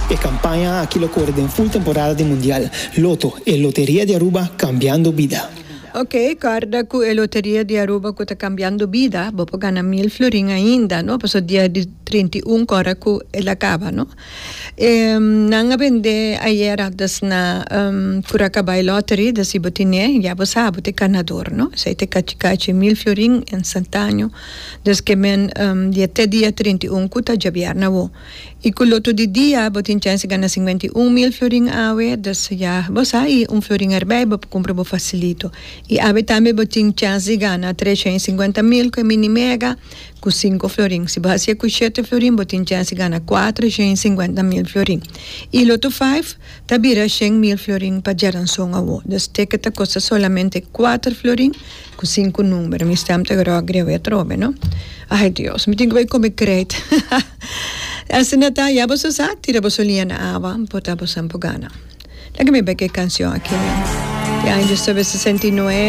E campaña aki lo core den full temporada di Mundial. Lotto, e loteria di Aruba cambiando bida. Ok, corda cu e loteria di Aruba cu ta cambiando bida, bo por gana mil florin ainda, no? Pasobra dia di 31 cora cu el a caba, no? E nan a bende ayera dus na Curacabai Lottery, dus si bo tine, ya bo sa, bo ta e ganador, no? Esey ta e cachi cachi mil florin instantaneo. Dus ke men dia te dia 31 cu ta djabièrnè awo. I ku loto di dia bo tin chèns di gana 51 mil florin awe, dus ya bo sa i un florin erbij bo por kumpra bo fasilito. I awe tambe bo tin chèns di gana 350 mil ku e mini mega ku sinku florin. Si bo hasié ku shete florin bo tin chèns di gana 450 mil florin. I loto five ta bira 100 mil florin pa djaranson awo. Dus ticket ta kosta solamente kuater florin ku sinku number. Mi stem ta gròg greu atrobe, no? Ai Dios, mi tin ku bai kome krijt. Asina ta, ya boso sa, tira boso liña na awa, por ta boso por gana. Laga mi bai ku e kanshon aki. Di aña 1969.